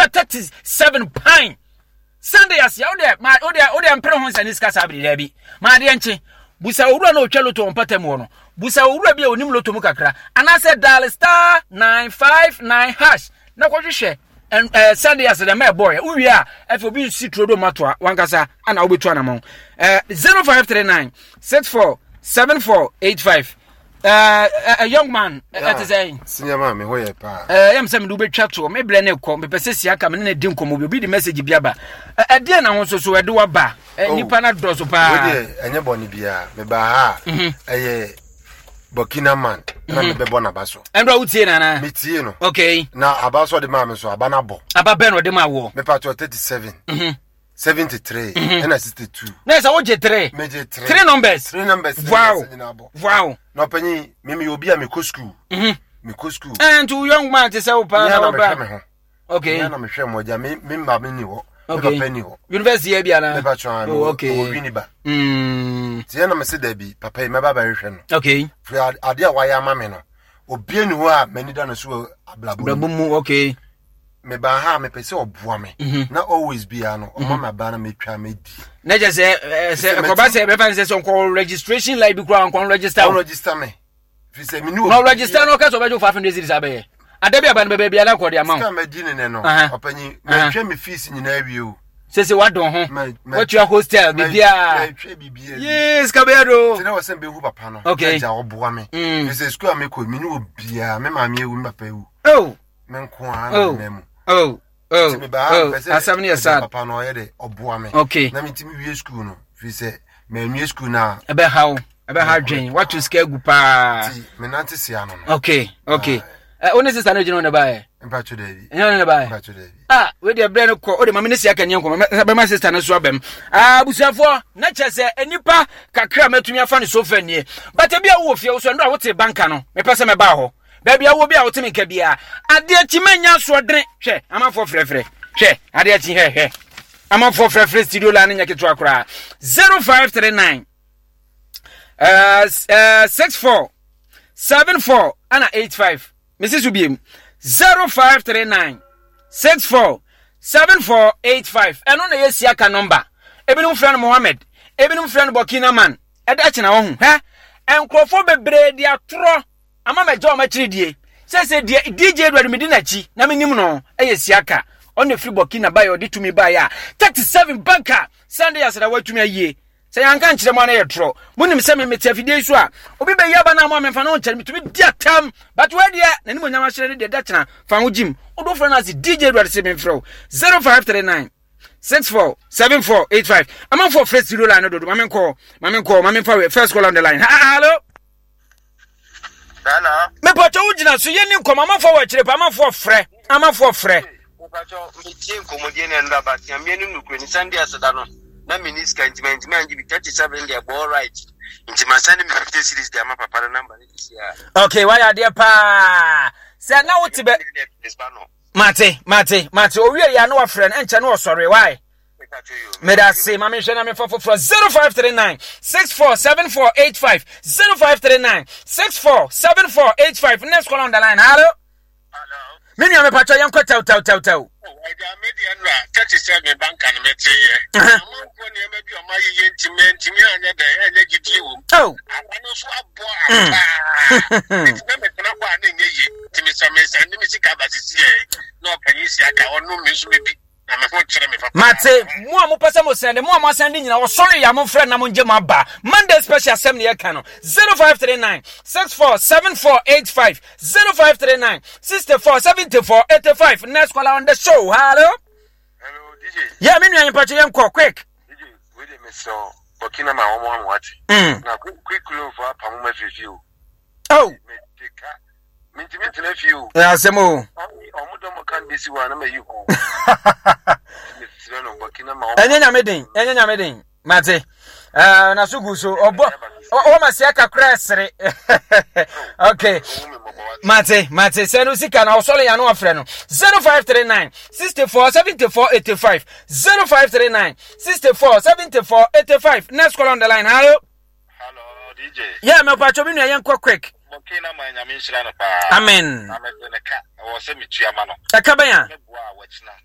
Ɛnura 37 pine. Sunday ase a wodeɛ ma wodeɛ wodeɛ mpere ho nsɛne sika saa bere daabi. Ma adeɛ nkye. Busa owura na otwa loto wɔ mpata mu hɔ no. Busa owura bi a onim loto mu kakra. Anaasɛ dial star 959 hash na kɔhwehwɛ ɛɛ Sunday ase dɛ mɛ ɛbɔɔyɛ. Wowie a afei obi nsi turo do matoa wankasa ana wobɛtu anamɔn. Ɛɛ 0539 64 7485. Uh, a young man ɛte eh, sɛ senior man me ho yɛ paa ɛɛ yam sɛ mede wobɛtwa toɔ me brɛ ne kɔ mepɛ sɛ sia ka me ne ne di nkɔmmɔ bi obi de message bi aba ɛdeɛ na ho nso so ɛde waba oh. nipa no dɔso paa wodeɛ ɛnyɛ bɔne biara mebaa ha a mhm. ɛyɛ burkina man na mhm. mebɛbɔ n'aba so ɛnura wotie no anaa metie no okay na aba so ɔde maa me so aba no abɔ aba bɛn na ɔde maa woɔ mepatɔ 37 73 ɛna 62 na ɛsɛ wogye 3 megye 3 3 numbers 3 numbers wow wow na ɔpanyin me meyɛ obi a mekɔ school mhm. mekɔ school ɛn nti wo young man te sɛ wo paa na wɔba mehwɛ me ho okay na mehwɛ mo agya me me mma me ni hɔ me papa ni hɔ university yɛ bi ana mepa kyɛn oh okay wɔ wini ba mm ti yɛ na me se dabi papa yi mɛba bɛhwehwɛ no okay firi ade a wayɛ ama me no obi ni hɔ a m'ani da no so wɔ abrabɔ mu okay mebaa ha a mepɛ sɛ ɔboa me mhm. na always biara no ɔma mhm. me abaa na metwa medi na kyɛ sɛ eh, sɛ ɛkɔba sɛ ɛbɛfa ne sɛ sɛ ɔnkɔ registration line bi koraa ɔnkɔ register ɔregister me firi sɛ mene na ɔregister no ɔka sɛ ɔbɛgye wo 500 cedis abɛyɛ ada bi aba no bɛbɛ biara kɔ de ama wo sika madi ne nɛ no ɔpanyin matwa me fees nyinaa wie o sese wadɔn ho watua hostel biribiara yee sika bɛyɛ do sɛ na wɔsɛn bɛhu papa no okay agya ɔboa me mm. firi sɛ sukuu a mekɔ mene obiara me maame awu me papa awu oh me nko ara na oh. mena mu oh oh nti mebaa oh mepɛ sɛ asɛm no yɛ sad papa no ɔyɛ dɛ ɔboa me okay na metumi wie sukuu no firi sɛ manwie sukuu no a ɛbɛha wo ɛbɛha dwen wato sika agu paa nti menante sia no no okay okay ɛ wo ne sista no gyina wo ne baɛ mpatwo daabi ɛnyɛ wo ne ne baɛ mpatwo daabi ah wei deɛ berɛ no kɔ wode ma me ne sia kaniɛ nkɔmmɔ bɛma sista no so abam ah abusuafoɔ na kyerɛ sɛ nnipa kakra mɛtumi afa no so fa nie but ebi a wowɔ fie wo so ɛno a wote banka no mepɛ sɛ mɛbaa hɔ Baabi a wowɔ bi a wote me nka biara. Adeɛ kyi manya asoɔdene. Hwɛ, amanfoɔ frɛfrɛ. Hwɛ, adeɛ kyi hwɛ hwɛ. Amanfoɔ frɛfrɛ studio line nyɛ ketewa koraa. 0539 64 74 ana 85. Mesi so biem. 0539 64 74 85. Ɛno na ɛyɛ siaka nɔmba. Ebinom frɛ no Mohammed. Ebinom frɛ no Burkina man. Ɛda kyena wɔn ho. Hwɛ, nkurɔfoɔ bebree de atorɔ ama magya wɔn akyiri die. Sɛsɛ deɛ DJ Edward medi n'akyi na menim no yɛ Siaka. Ɔno firi Burkina baeɛ ɔde tumi baeɛ a 37 banka Sunday aseda watumi ayie. Sɛ yɛanka nkyerɛ mo a na yɛ torɔ. Monim sɛ me mete afidie yi so a obi bɛyi aba no a mo a memfa no nkyɛre metumi di atam. But wei deɛ n'anim onyam ahyerɛ ne deɛ da kyena fa ho gyim. Wode wofrɛ no ase DJ Edward se memfrɛ wo 0539 64 74 85. Amanfoɔ frɛ studio line no dodo ma menkɔ ma menkɔ ma memfa wei first call on the line. Hello. Hello. Mepatɔ wo gyina so yɛni nkɔmɔ amanfoɔ wɔ akyire pa amanfoɔ frɛ amanfoɔ frɛ. Mepatɔ metie nkɔmɔdie na ɛnura ba tia mmea no nukuri ne sande aseda no na meni sika nti ma ntumi angye bi 37 deɛ bɔɔ right nti ma sande me 50 series de ama papa no namba ne sisi a. Okay wayɛ adeɛ paa sɛ na wote bɛ. Mate mate mate owie yɛ ano wafrɛ no ɛnkyɛ no ɔsɔre why. meda ase ma menhwɛ na memfa foforɔ 0539 647485 0539 647485 next call on the line hello me nua mepatwɔ yɛnkɔ tɛw tɛw tɛw tɛw Oh. Mate, mo a mopɛ sɛ mo sɛnde, mo a mo asɛnde nyina, wɔsɔre yɛ a momfrɛ na mongye mo aba. Monday special asɛm ne yɛka no. 0539 64 7485 0539 64 74 85. Next caller on the show. Hello. Hello, DJ. Yeah, me nua mpacho yɛn kɔ quick. DJ, we dey miss so Burkina ma wɔn amu ate. Mm. Na quick quick loan for apamu ma fifi o. Oh. Me teka. Mintimi ntena fie o. Ɛ asɛm o. Ɔmo dɔm kan besi hɔ a na ma yi ho. Mesrɛ no Burkina ma Ɛnyɛ nyame den, ɛnyɛ nyame den. Mate. Uh, na so gu so. Ɔbɔ ɔwɔ ma sia kakra ɛsere. Okay. Mate, mate. Sɛ no sika na ɔsɔre ya no afrɛ no. 0539 64 74 85 0539 64 74 85. Next call on the line. Hello. Hello, DJ. Yeah, me pacho me nua yɛnkɔ quick. Mɔke na ma nyame nhyira no paa. Amen. Na mede ne ka ɛwɔ sɛ metua ma no. Ɛka bɛn a? Mɛboa a wɔkyena.